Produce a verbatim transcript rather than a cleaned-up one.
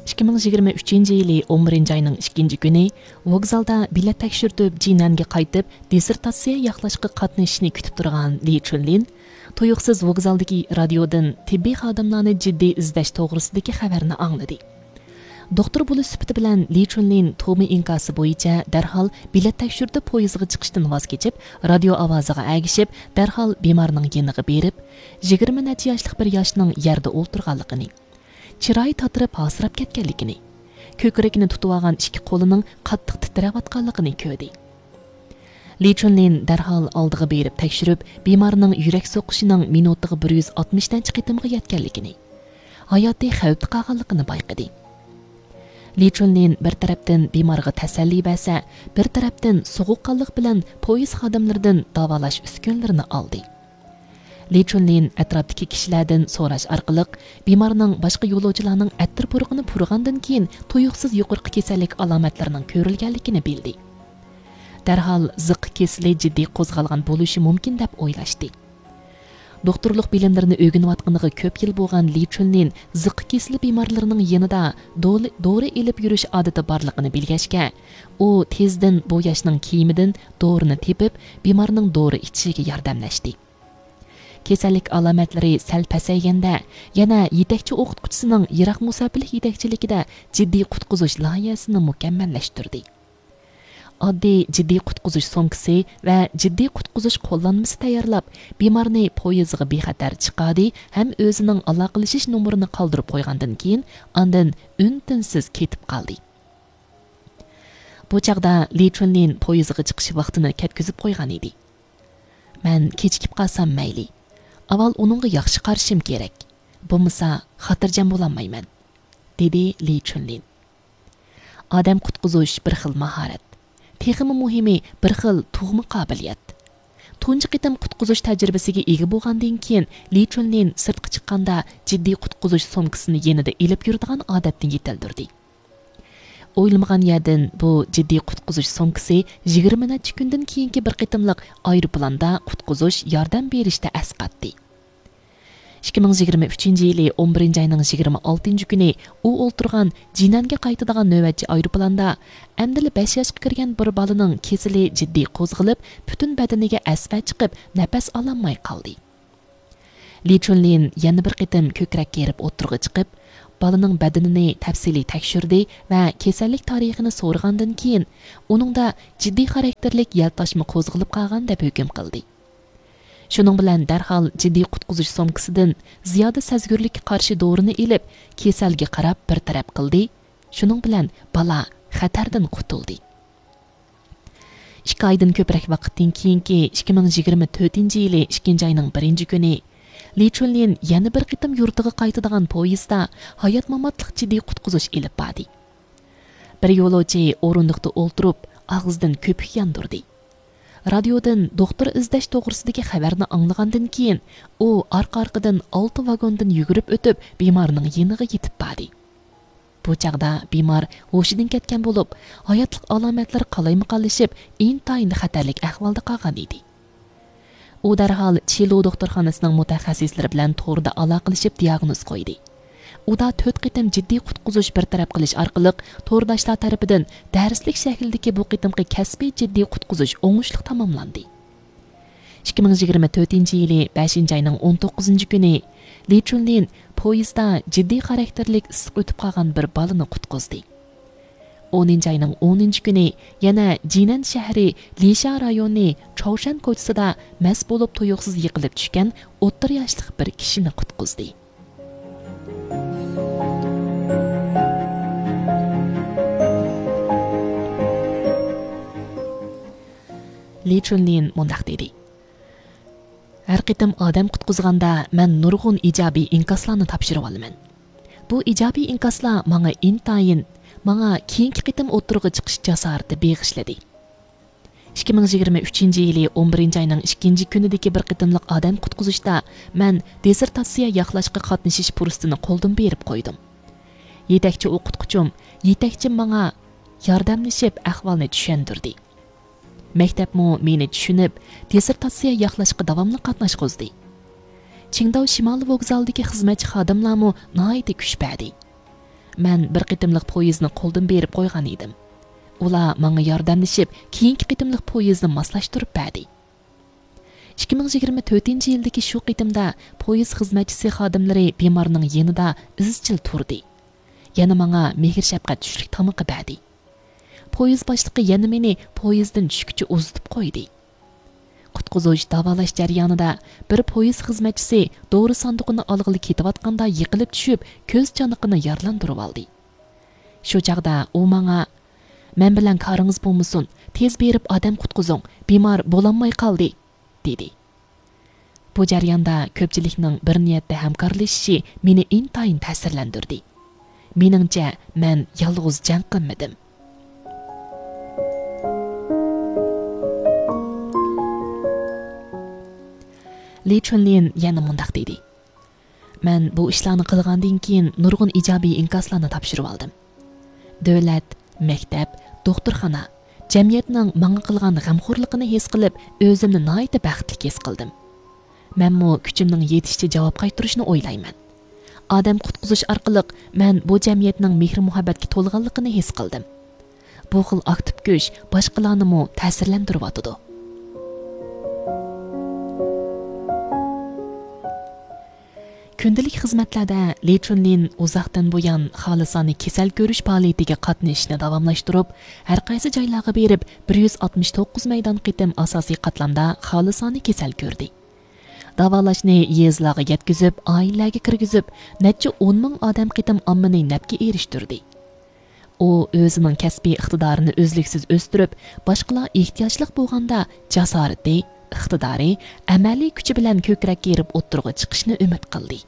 ئىككى مىڭ يىگىرمە ئۈچىنچى يىلى ئون بىرىنچى ئاينىڭ ئىككىنچى كۈنى ۋوگزالدا بېلەت تەكشۈرتۈپ، جىنەنگە قايتىپ، دىسسېرتاتسىيە ياقلاشقا قاتنىشىشنى كۈتۈپ تۇرغان لى چۈنلىن تۇيۇقسىز ۋوگزالدىكى رادىيودىن تېببىي خادىملارنى جىددىي ئىزدەش توغرىسىدىكى خەۋەرنى ئاڭلىدى. دوختۇر بولۇش سۈپىتى بىلەن لى چۈنلىن توما ئىنكاسى بويىچە دەرھال بېلەت تەكشۈرتۈپ پويىزغا چىقىشتىن ۋاز كېچىپ، رادىيو ئاۋازىغا ئەگىشىپ، دەرھال بىمارنىڭ يېنىغا بېرىپ، يىگىرمە نەچچە ياشلىق بىر ياشنىڭ يەردە ئولتۇرغانلىقىنى، چىرايى تاتىرىپ ھاسىراپ كەتكەنلىكىنى، كۆكرىكىنى تۇتۇۋالغان ئىككى قولىنىڭ قاتتىق تىترەۋاتقانلىقىنى كۆردى. لى چۈنلىن دەرھال ئالدىغا بېرىپ تەكشۈرۈپ، بىمارنىڭ يۈرەك سوقۇشىنىڭ مىنۇتىغا بىر يۈز ئاتمىش نەچچە قېتىمغا يەتكەنلىكىنى، ھاياتى خەۋپتە قالغانلىقىنى بايقىدى. لى چۈنلىن بىر تەرەپتىن بىمارغا تەسەللى بەرسە، بىر تەرەپتىن سوغۇققانلىق بىلەن پويىز خادىملىرىدىن داۋالاش ئۈسكۈنىلىرىنى ئالدى. لى چۈنلىن ئەتراپتىكى كىشىلەردىن سوراش ئارقىلىق بىمارنىڭ باشقا يولۇچىلارنىڭ ئەتىر پۇرىقىنى پۇرىغاندىن كېيىن تۇيۇقسىز يۇقىرىقى كېسەللىك ئالامەتلىرىنىڭ كۆرۈلگەنلىكىنى بىلدى. دەرھال زىققا كېسىلى جىددىي قوزغالغان بولۇشى مۇمكىن دەپ ئويلاشتى. دوختۇرلۇق بىلىملىرىنى ئۆگىنىۋاتقىنىغا كۆپ يىل بولغان لى چۈنلىن زىققا كېسىلى بىمارلىرىنىڭ يېنىدا دولى-، دورا ئېلىپ يۈرۈش ئادىتى بارلىقىنى بىلگەچكە، ئۇ تېزدىن بۇ ياشنىڭ كىيىمىدىن دورىنى تېپىپ، بىمارنىڭ دورا ئىچىشىگە ياردەملەشتى. كېسەللىك ئالامەتلىرى سەل پەسەيگەندە، يەنە يېتەكچى ئوقۇتقۇچىسىنىڭ يىراق مۇساپىلىك يېتەكچىلىكىدە جىددىي قۇتقۇزۇش لايىھەسىنى مۇكەممەللەشتۈردى. ئاددىي جىددىي قۇتقۇزۇش سومكىسى ۋە جىددىي قۇتقۇزۇش قوللانمىسى تەييارلاپ، بىمارنى پويىزغا بىخەتەر چىقاردى ھەم ئۆزىنىڭ ئالاقىلىشىش نومۇرىنى قالدۇرۇپ قويغاندىن كېيىن، ئاندىن ئۈن-تىنسىز كېتىپ قالدى. بۇ چاغدا لى چۈنلىن پويىزغا چىقىش ۋاقتىنى كەتكۈزۈپ قويغان ئىدى. مەن كېچىكىپ قالسام مەيلى. ئاۋۋال ئۇنىڭغا ياخشى قارىشىم كېرەك. بولمىسا خاتىرجەم بولالمايمەن، دېدى لى چۈنلىن. ئادەم قۇتقۇزۇش بىر خىل ماھارەت. تېخىمۇ مۇھىمى، بىر خىل تۇغما قابىلىيەت. تۇنجى قېتىم قۇتقۇزۇش تەجرىبىسىگە ئىگە بولغاندىن كېيىن، لى چۈنلىن سىرتقا چىققاندا جىددىي قۇتقۇزۇش سومكىسىنى يېنىدا ئېلىپ يۈرىدىغان ئادەتنى يېتىلدۈردى. ئويلىمىغان يەردىن بۇ جىددىي قۇتقۇزۇش سومكىسى يىگىرمە نەچچە كۈندىن كېيىنكى بىر قېتىملىق ئايروپىلاندا قۇتقۇزۇش ياردەم بېرىشتە ئەسقاتتى. ئىككى مىڭ يىگىرمە ئۈچىنچى يىلى ئون بىرىنچى ئاينىڭ يىگىرمە ئالتىنچى كۈنى ئۇ ئولتۇرغان جىنەنگە قايتىدىغان نۆۋەتچى ئايروپىلاندا ئەمدىلا بەش ياشقا كىرگەن بىر بالىنىڭ كېسىلى جىددىي قوزغىلىپ، پۈتۈن بەدىنىگە ئەسۋە چىقىپ، نەپەس ئالالماي قالدى. لى چۈنلىن يەنە بىر قېتىم كۆكرەك كېرىپ ئوتتۇرىغا چىقىپ، بالىنىڭ بەدىنىنى تەپسىلىي تەكشۈردى ۋە كېسەللىك تارىخىنى سورىغاندىن كېيىن، ئۇنىڭدا جىددىي خاراكتېرلىك يەل تاشما قوزغىلىپ قالغان دەپ ھۆكۈم قىلدى. شۇنىڭ بىلەن دەرھال جىددىي قۇتقۇزۇش سومكىسىدىن زىيادە سەزگۈرلۈككە قارشى دورىنى ئېلىپ، كېسەلگە قاراپ بىر تەرەپ قىلدى. شۇنىڭ بىلەن بالا خەتەردىن قۇتۇلدى. ئىككى ئايدىن كۆپرەك ۋاقىتتىن كېيىنكى ئىككى مىڭ يىگىرمە تۆتىنچى يىلى ئىككىنچى ئاينىڭ بىرىنچى كۈنى لى چۈنلىن يەنە بىر قېتىم يۇرتىغا قايتىدىغان پويىزدا ھايات-ماماتلىق جىددىي قۇتقۇزۇش ئېلىپ باردى. بىر يولۇچى ئورۇندۇقتا ئولتۇرۇپ، ئاغزىدىن كۆپۈك ياندۇردى. رادىيودىن دوختۇر ئىزدەش توغرىسىدىكى خەۋەرنى ئاڭلىغاندىن كېيىن، ئۇ ئارقا-ئارقىدىن ئالتە ۋاگوندىن يۈگۈرۈپ ئۆتۈپ، بىمارنىڭ يېنىغا يېتىپ باردى. بۇ چاغدا بىمار ھوشىدىن كەتكەن بولۇپ، ھاياتلىق ئالامەتلىرى قالايمىقانلىشىپ، ئىنتايىن خەتەرلىك ئەھۋالدا قالغان ئىدى. ئۇ دەرھال چىلۇ دوختۇرخانىسىنىڭ مۇتەخەسسىسلىرى بىلەن توردا ئالاقىلىشىپ دىياگنوز قويدى. ئۇدا تۆت قېتىم جىددىي قۇتقۇزۇش بىر تەرەپ قىلىش ئارقىلىق تورداشلار تەرىپىدىن دەرسلىك شەكلىدىكى بۇ قېتىمقى كەسپىي جىددىي قۇتقۇزۇش ئوڭۇشلۇق تاماملاندى. ئىككى مىڭ يىگىرمە تۆتىنچى يىلى بەشىنچى ئاينىڭ ئون توققۇزىنچى كۈنى لى چۈنلىن پويىزدا جىددىي خاراكتېرلىك ئىسسىق ئۆتۈپ قالغان بىر بالىنى قۇتقۇزدى. ئونىنچى ئاينىڭ ئونىنچى كۈنى يەنە جىنەن شەھىرى لىشا رايونى چاۋشەن كوچىسىدا مەست بولۇپ تۇيۇقسىز يىقىلىپ چۈشكەن ئوتتۇرا ياشلىق بىر كىشىنى قۇتقۇزدى. لى چۈنلىن مۇنداق دېدى: ھەر قېتىم ئادەم قۇتقۇزغاندا، مەن نۇرغۇن ئىجابىي ئىنكاسلارنى تاپشۇرۇۋالىمەن. بۇ ئىجابىي ئىنكاسلار ماڭا ئىنتايىن، ماڭا كېيىنكى قېتىم ئوتتۇرىغا چىقىش جاسارىتى بېغىشلىدى. ئىككى مىڭ يىگىرمە ئۈچىنچى يىلى ئون بىرىنچى ئاينىڭ ئىككىنچى كۈنىدىكى بىر قېتىملىق ئادەم قۇتقۇزۇشتا مەن دىسسېرتاتسىيە ياقلاشقا قاتنىشىش پۇرسىتىنى قولدىن بېرىپ قويدۇم. يېتەكچى ئوقۇتقۇچۇم، يېتەكچىم ماڭا ياردەملىشىپ ئەھۋالنى چۈشەندۈردى. مەكتەپمۇ مېنى چۈشىنىپ، دىسسېرتاتسىيە ياقلاشقا داۋاملىق قاتناشقۇزدى. چىڭداۋ شىمالىي ۋوگزالىدىكى خىزمەتچى خادىملارمۇ ناھايىتى كۈچ بەردى. مەن بىر قېتىملىق پويىزنى قولدىن بېرىپ قويغان ئىدىم. ئۇلار ماڭا ياردەملىشىپ، كېيىنكى قېتىملىق پويىزنى ماسلاشتۇرۇپ بەردى. ئىككى مىڭ يىگىرمە تۆتىنچى يىلدىكى شۇ قېتىمدا پويىز خىزمەتچىسى خادىملىرى بىمارنىڭ يېنىدا ئىزچىل تۇردى. يەنە ماڭا مېھىر-شەپقەت چۈشلۈك تامىقى بەردى. پويىز باشلىقى يەنە مېنى پويىزدىن چۈشكىچە ئۇزىتىپ قويدى. قۇتقۇزۇش، داۋالاش جەريانىدا بىر پويىز خىزمەتچىسى دورا ساندۇقىنى ئالغىلى كېتىۋاتقاندا يىقىلىپ چۈشۈپ، كۆز چانىقىنى يارىلاندۇرۇۋالدى. شۇ چاغدا ئۇ ماڭا، «مەن بىلەن كارىڭىز بولمىسۇن، تېز بېرىپ ئادەم قۇتقۇزۇڭ، بىمار بولالماي قالدى» دېدى. بۇ جەرياندا كۆپچىلىكنىڭ بىر نىيەتتە ھەمكارلىشىشى مېنى ئىنتايىن تەسىرلەندۈردى. مېنىڭچە، مەن يالغۇز جەڭ قىلمىدىم. لى چۈنلىن يەنە مۇنداق دېدى: مەن بۇ ئىشلارنى قىلغاندىن كېيىن نۇرغۇن ئىجابىي ئىنكاسلارنى تاپشۇرۇۋالدىم. دۆلەت، مەكتەپ، دوختۇرخانا، جەمئىيەتنىڭ ماڭا قىلغان غەمخورلۇقىنى ھېس قىلىپ، ئۆزۈمنى ناھايىتى بەختلىك ھېس قىلدىم. مەنمۇ كۈچۈمنىڭ يېتىشىچە جاۋاب قايتۇرۇشنى ئويلايمەن. ئادەم قۇتقۇزۇش ئارقىلىق مەن بۇ جەمئىيەتنىڭ مېھرى-مۇھەببەتكە تولغانلىقىنى ھېس قىلدىم. بۇ خىل ئاكتىپ كۈچ باشقىلارنىمۇ تەسىرلەندۈرۈۋاتىدۇ. كۈندىلىك خىزمەتلەردە لى چۈنلىن ئۇزاقتىن بۇيان خالىسانە كېسەل كۆرۈش پائالىيىتىگە قاتنىشىشنى داۋاملاشتۇرۇپ، ھەر قايسى جايلارغا بېرىپ، بىر يۈز ئاتمىش توققۇز مەيدان قېتىم ئاساسىي قاتلامدا خالىسانە كېسەل كۆردى. داۋالاشنى يېزىلارغا يەتكۈزۈپ، ئائىلىلەرگە كىرگۈزۈپ، نەچچە ئون مىڭ ئادەم قېتىم ئاممىنى نەپكە ئېرىشتۈردى. ئۇ ئۆزىنىڭ كەسپىي ئىقتىدارىنى ئۈزلۈكسىز ئۆستۈرۈپ، باشقىلار ئېھتىياجلىق بولغاندا جاسارىتى، ئىقتىدارى، ئەمەلىي كۈچى بىلەن كۆكرەككە ئېرىپ ئوتتۇرىغا چىقىشنى ئۈمىد قىلدى.